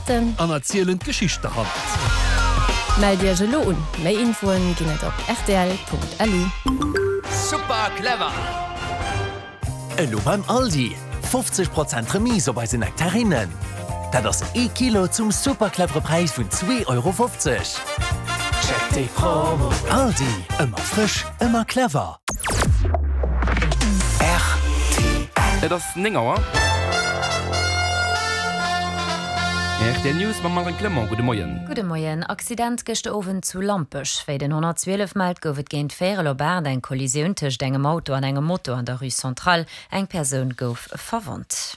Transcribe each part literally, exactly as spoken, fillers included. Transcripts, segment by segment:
Artisten. An erzielen d'Geschicht derhannert. Mellt Iech elo un, méi Infoen ginn et op rtl.lu. Super clever! Elo beim Aldi, fofzeg Prozent Remise op eise Nektarinnen. Dat ass ee Kilo zum super clevere Präis vun zwee Euro fofzeg. Check déi Promo! Aldi, ëmmer frësch, ëmmer clever. R T L. Et ass néng Auer. R T L News mam Marine Clement. Gudde Moien. Gudde Moien. Accident gëschter Owend zu Lampech. Wéi den honnertzwielef mellt, gouf et géint véierel op aacht eng Kollisioun tëscht engem Auto an engem Moto an der Rue Centrale. Eng Persoun gouf verwonnt.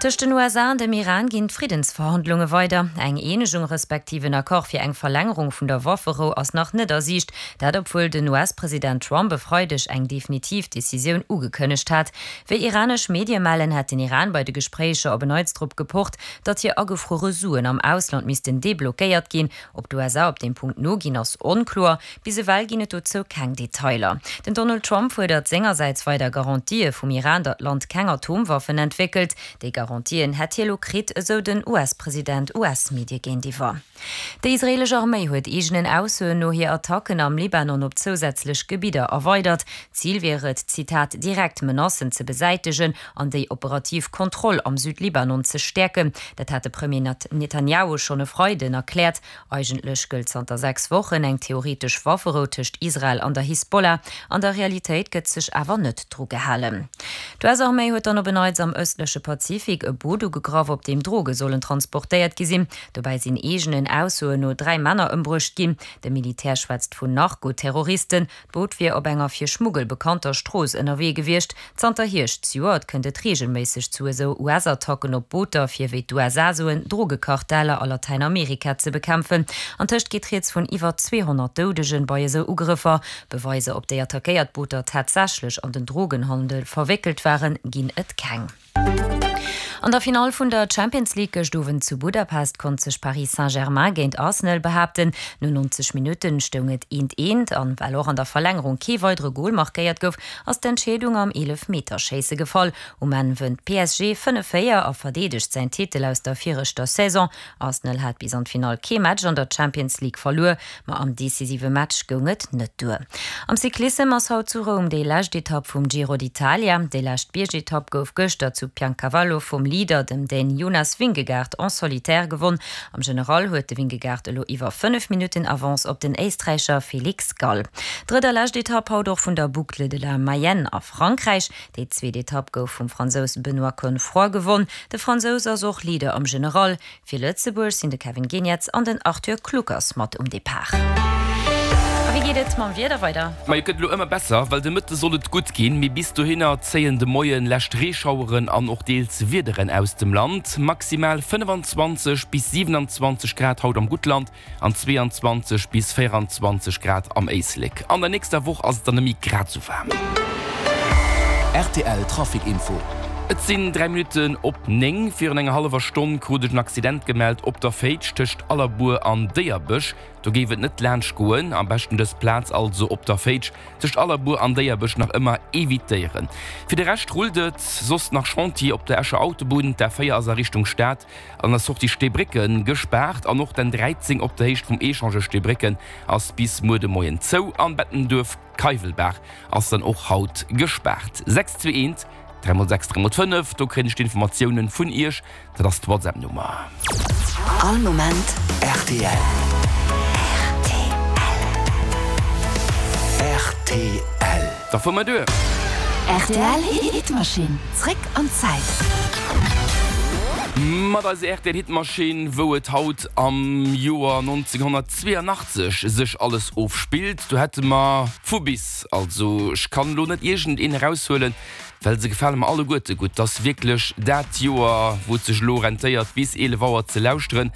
Tëscht den U S A an dem Iran ginn d'Friddensverhandlunge weider. Eng Eenegung respektiv en Accord fir eng Verlängerung vun der Wafferou ass nach net a Siicht. Dat obwuel den U S-President Trump e Freideg eng definitiv Decisioun ugekënnegt hat. Wéi iranesch Medie mellen, hätt den Iran bei de Gespréicher op en Neits drop gepocht, datt hir agefruere Suen am Ausland missten deblockéiert ginn. Ob d'U S A op deem Punkt noginn, ass onkloer. Bis ewell ginn et dozou keng Detailer. Den Donald Trump fuerdert sengersäits weider Garantië vum Iran, datt d'Land keng Atomwaffen entwéckelt. Déi Garantien hätt hie lo kritt, esou den U S-President U S-Medie géintiwwer. Déi israelesch Arméi huet eegenen Aussoen no hir Attacken am Libanon op zousätzlech Gebidder erweidert. Zil wier et, Zitat, direkt Menacen ze besäitegen an déi operativ Kontroll am Südlibanon ze stäerken. Dat hat de Premier Nat-, Netanyahu schonn e Freiden erkläert. Eigentlech gëllt zanter sechs Wochen eng theoretesch Wafferou tëscht Israel an der Hisbollah. An der Realitéit gëtt sech awer net dru gehalen. D'U S-Arméi huet dann op en Neits am ëstleche Pazifik e Boot ugegraff, op deem Droge sollen transportéiert gi sinn. Dobäi sinn eegenen Aussoen no dräi Männer ëmbruecht ginn. De Militär schwätzt vun Narkoterroristen. D'Boot wier op enger fir Schmuggel bekannter Strooss ënnerwee gewiescht. Zanter Hierscht zejoert kënnt et reegelméisseg zu esou U S-Attacken op Booter, fir wéi d'U S A soen, Drogekarteller a Latäinamerika ze bekämpfen. Antëscht geet rieds vun iwwer zweehonnert Doudegen bei esou Ugrëffer. Beweiser, ob déi attackéiert Booter tatsächlech an den Drogenhandel verwéckelt waren, ginn et keng. An der Finale vun der Champions League gëscht Owend zu Budapest konnt sech Paris Saint-Germain géint Arsenal behaapten. No neunzeg Minuten stoung et eent eent an well och an der Verlängerung kee weidere Goal markéiert gouf, ass d'Entscheedung am Eelefmeterschéisse gefall. Um Enn wënnt P S G fënnef véier a verdeedegt säin Titel aus der viregter Saison. Arsenal hat bis an d'Finale kee Match an der Champions League verluer, ma am decisive Match goung et net duer. Am Cyclissem ass haut zu Roum déi lescht Etapp vum Giro d'Italia. Déi lescht Biergetapp gouf gëschter zu Piancavallo vum Leader, dem Dän Jonas Vingegaard, en solitaire gewonnen. Am General huet de Vingegaard elo iwwer fënnef Minuten Avance op den Éisträicher Felix Gall. Drëtt a lescht Etapp haut och vun der Boucle de la Mayenne a Frankräich. Déi zweet Etapp gouf vum Fransous Benoît Cosnefroy gewonnen. De Fransous ass och Leader am General. Fir Lëtzebuerg sinn de Kevin Geniets an den Arthur Kluckers mat um Depart. A wéi geet et mam Wieder weider? Ma et gëtt elo ëmmer besser, well de Mëtte soll et gutt ginn, mee bis dohinner zéien de Moien lescht Reeschaueren an och deels Wiederen aus dem Land. Maximal fënnefanzwanzeg bis siewenundzwanzeg Grad haut am Guttland an zweeanzwanzeg bis véieranzwanzeg Grad am Éislek. An der nächster Woch ass et dann nëmme grad sou waarm. R T L Trafic Info. Et sinn dräi Minuten op néng. Virun enger hallewer Stonn krut ech en Accident gemellt op der Féitsch tëscht Allerbuer an Déierbech. Do géif et net laanscht goen. Am beschten dës Plaz also op der Féitsch tëscht Allerbuer an Déierbech nach ëmmer evitéieren. Fir de Rescht rullt et soss nach Chantier op der Escher Autobunn. D'A véier ass a Richtung Stad an der Sortie Steebrécken gespaart an och den dräizéng op der Héicht vum Echange Steebrécken ass bis muer de Moien zou. An Bettenduerf Keiwelbaach ass dann och haut gespaart. sechs zwee eent, dräi mol sechs, dräi mol fënnef, do kréien ech d'Informatiounen vun Iech. Dat ass d'WhatsApp-Nummer. All Moment R T L. R T L. Da fuer mer duer. R T L Hitmaschinn. Zréck an d'Zäit. Mat eiser R T L Hitmaschinn, wou et haut am Joer neunzehnhundertzweiundachtzig sech alles ofspillt. Du hätte mer vu bis, also ich kann lo net irgendeen rausholen, well se gefallen mir alle Gurte gut. Das wirklich dat Joer, wo et sech lo rentéiert, bis eelef Auer ze lauschteren,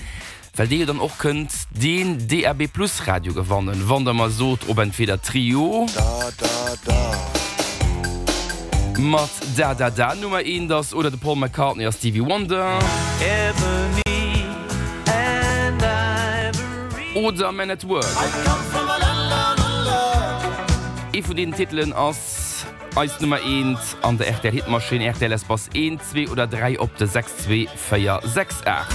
well dir dann och könnt den D A B Plus Radio gewannen, wann der mal sot, ob entweder Trio Da, da, da. mat Da, da, da Nummer eent ass oder de Paul McCartney a Stevie Wonder. Ebony and Ivory. Oder Men at Work. I come from a land down under. Ee vun den Titelen ass eis Nummer eent an der R T L Hitmaschinn, R T L Espace eent, zwee oder dräi op de sechs, zwee, véier, sechs, aacht.